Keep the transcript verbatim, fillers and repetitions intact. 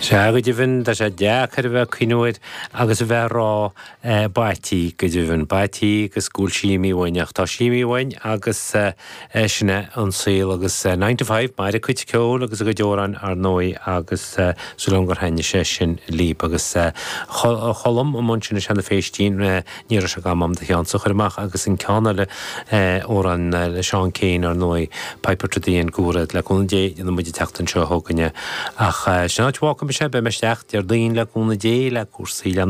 Sea go deimhin tá sé deacair a bheith ag cuimhniú air agus a bheith ag rá b'ait go deimhin b'ait agus go bhfuil sí imithe uainn ach tá sí imithe uainn agus sin é an saol agus nine to five mar a cuid ceoil agus a gcuid amhrán ar ndóigh agus súil agam gur thaitnigh sé sin libh agus Cholm i mbun sin i Seanadh Féistín ní raibh sé agam am do cheannsa chur amach agus an ceann eile amhrán le Seán Keane ar ndóigh Piper to the End Gúrad le cúnamh Dé déanfaidh muid an tseachtain seo chugainne ach sin áit bhfágfaidh mise beidh mé isteach Déardaoin le cúnamh Dé le cúrsaí le